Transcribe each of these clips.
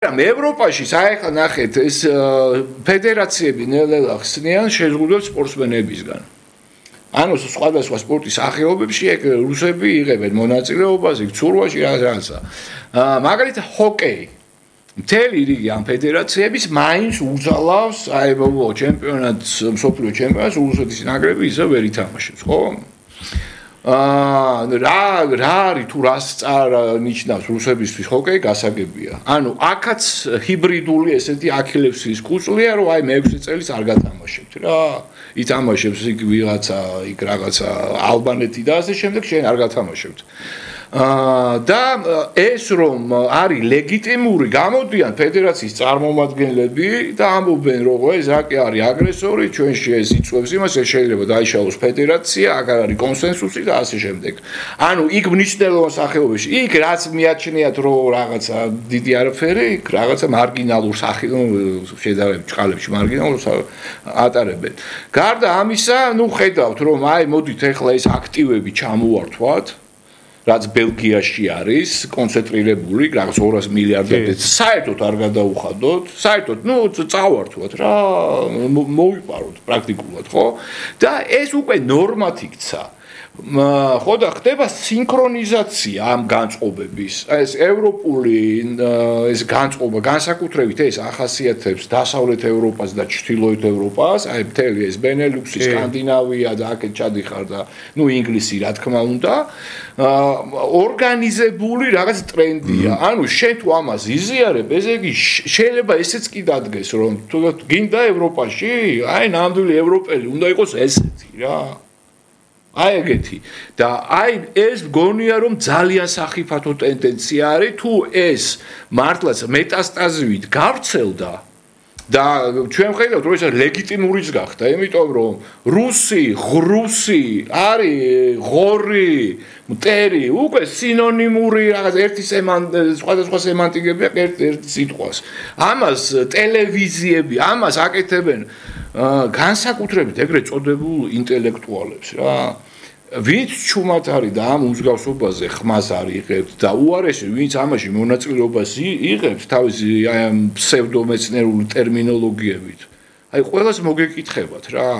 მაგრამ ევროპაში საერთოდ ნახეთ ეს ფედერაციები ნელ-ნელა ხსნიან შეზღუდვებს სპორტსმენებისგან. ანუ სხვადასხვა სპორტის სახეობებში ეგ რუსები იღებენ მონაწილეობას, იქ ცურვაში რაღაცა. მაგალითად ჰოკეი. მთელი რიგი ამ ფედერაციების მაინც უძალავს აებო ჩემპიონატს, მსოფლიო ჩემპიონატს რუსეთის ნაკრები ისე ვერ ითამაშებს, ხო? რა არის თუ რას ნიშნავს რუსებისთვის ჰოკეი გასაგებია. ანუ აქაც ჰიბრიდული ესეთი აქილევსის კუწლია, რომ აი მე 6 წელს არ გათამაშებთ რა. ითამაშებს იქ ვიღაცა, იქ რაღაცა ალბანეთი და ასე შემდეგ, შენ არ გათამაშებთ. და ეს რომ არის ლეგიტიმური, გამოდიან ფედერაციის წარმომადგენლები და ამბობენ, რომ ეს აკი არის აგრესორი, ჩვენში ეს იწვევს იმას, ეს შეიძლება დაიშალოს ფედერაცია, აქ არის კონსენსუსი და ასე შემდეგ. ანუ იქ მნიშვნელოვან სახეობაში, იქ რაც მიაჩნიათ, რომ რაღაცა დიდი არაფერი, იქ რაღაცა მარგინალურ შედარებით ჭყალებში მარგინალურს ატარებენ. გარდა ამისა, ნუ ხედავთ, რომ აი მოდით ახლა ეს აქტივები ჩამოვართვათ რაც ბელგიაში არის კონცენტრირებული, რაღაც 200 მილიარდამდე საერთოდ არ გადაუხადოთ, საერთოდ, ნუ წავართვათ რა, მოვიპაროთ პრაქტიკულად, ხო? და ეს უკვე ნორმად იქცა. ხო და ხდება სინქრონიზაცია ამ განწყობების. ეს ევროპული ეს განწყობა განსაკუთრებით ეს ახასიათებს დასავლეთ ევროპას და ჩრდილოეთ ევროპას, აი მთელი ეს ბენელუქსი, სკანდინავია და აქეთ ჩადიხარ და ნუ ინგლისი რა თქმა უნდა, ორგანიზებული რაღაც ტრენდია. ანუ შენ თუ ამას იზიარებ, ესე იგი შეიძლება ესეც კი დადგეს, რომ თუ გინდა ევროპაში, აი ნამდვილი ევროპელი უნდა იყოს ესეთი რა. აი ეგეთი და აი ეს გონია რომ ძალიან სახიფათო ტენდენცია არის თუ ეს მართლაც მეტასტაზივით გავრცელდა და ჩვენ ხედავთ რომ ეს ლეგიტიმურიც გახდა იმიტომ რომ რუსი, ღრუსი არის ღორი, მტერი უკვე სინონიმური რაღაც ერთი სხვადასხვა სემანტიკებია ერთი სიტყვას ამას ტელევიზიები ამას აკეთებენ განსაკუთრებით ეგრეთ წოდებულ ინტელექტუალებს რა ვინც ჩუმად არის და ამ უმსგავსობაზე ხმას არ იღებთ და უარესი ვინც ამაში მონაწილეობას იღებს თავისი აი ამ ფსევდომეცნიერული ტერმინოლოგიებით აი ყველას მოგეკითხებათ რა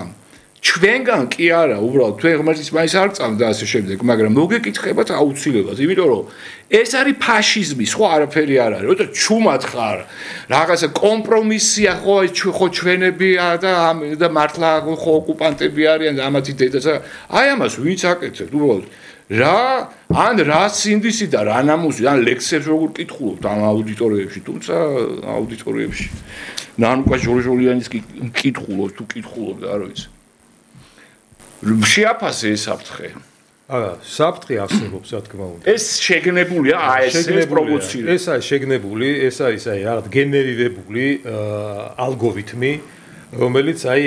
ჩვენგან კი არა უბრალოდ თქვენ ღმერთის მაინც არ წამთ და ასე შემდეგ მაგრამ მოგეკითხებათ აუცილებლად იმიტომ რომ ეს არის ფაშიზმი სხვა არაფერი არ არის როცა ჩუმად ხარ რაღაცა კომპრომისია ხო ჩვენებია და მართლა ხო ოკუპანტები არიან და ამათი დედაც აი ამას ვინც აკეთებთ უბრალოდ რა ან რა სინდისი და რა ნამუსი ან ლექსებს როგორ კითხულობთ ამ აუდიტორიებში თუმცა აუდიტორიებში ნანუკა ჟორჟოლიანის კი კითხულობ თუ კითხულობ და არ ვიცი შეაფასე ეს საფრთხე. არა, საფრთხე არსებობს, რა თქმა უნდა. ეს შეგნებულია, ეს პროვოცირება. ეს არის შეგნებული, ეს არის აი რაღაც გენერირებული ალგორითმი, რომელიც აი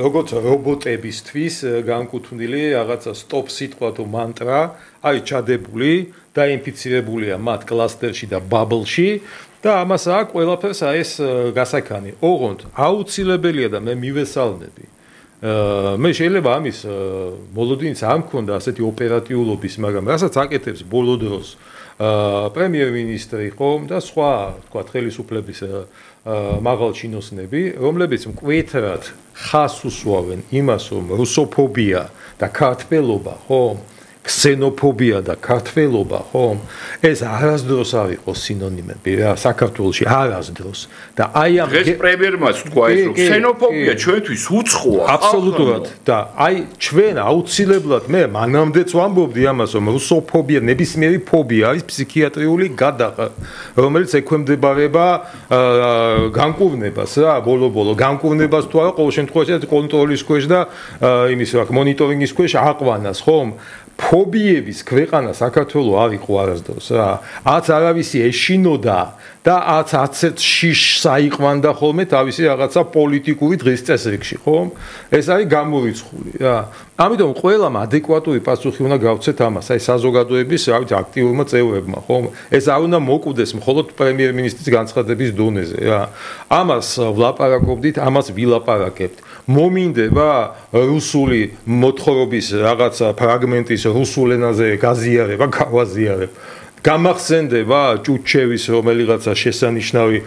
როგორც რობოტებისთვის განკუთვნილი რაღაცა სტოპ სიტყვა თუ მანტრა არის ჩადებული და ინფიცირებულია მათ კლასტერში და ბაბლში და ამას აქვს ყველაფერს აი ეს გასაქანი. ოღონდ აუცილებელია და მე მივესალმები მე შეიძლება ამის მოლოდინიც არ მქონდა ასეთი ოპერატიულობის, მაგრამ რასაც აკეთებს ბოლო დროს პრემიერ-მინისტრი ხომ და სხვა, თქვა, ხელისუფლების მაღალ ჩინოსნები, რომლებიც მკვეთრად ხას უსვავენ იმას, რომ რუსოფობია და ქართველობა, ხომ? ქსენოფობია და ქართველობა, ხომ? ეს არასდროს არ იყო სინონიმები რა, საქართველოში არასდროს. და აი ამ დღეს პრემიერმაც თქვა ეს რომ ქსენოფობია ჩვენთვის უცხოა. აბსოლუტურად. და აი ჩვენ აუცილებლად მე მანამდეც ვამბობდი ამას, რომ რუსოფობია ნებისმიერი ფობია არის ფსიქიატრიული გადაყა, რომელიც ექვემდებარება განკურნებას რა, ბოლო-ბოლო განკურნებას თუ არა, ყოველ შემთხვევაში კონტროლის ქვეშ და იმის რა, მონიტორინგის ქვეშ აყვანას, ხომ? ფობიების ქვეყანა საქართველო არ იყო არასდროს რა. აც არავისი ეშინოდა და აც შიშს აიყვანდა ხოლმე თავისი რაღაცა პოლიტიკური დღის წესრიგში, ხომ? ეს არის გამორიცხული რა. ამიტომ ყველამ ადეკვატური პასუხი უნდა გავცეთ ამას, აი საზოგადოების, რა ვიცი, აქტიურმა წევრებმა, ხომ? ეს არ უნდა მოკვდეს მხოლოდ პრემიერ-მინისტრის განცხადების დონეზე რა. ამას ვლაპარაკობდით, ამას ვილაპარაკებთ. მომინდება რუსული მოთხრობის რაღაცა ფრაგმენტის რუსულ ენაზე გაზიარება, გავაზიარებ. გამახსენდება ჭუჩევის რომელიღაცა შესანიშნავი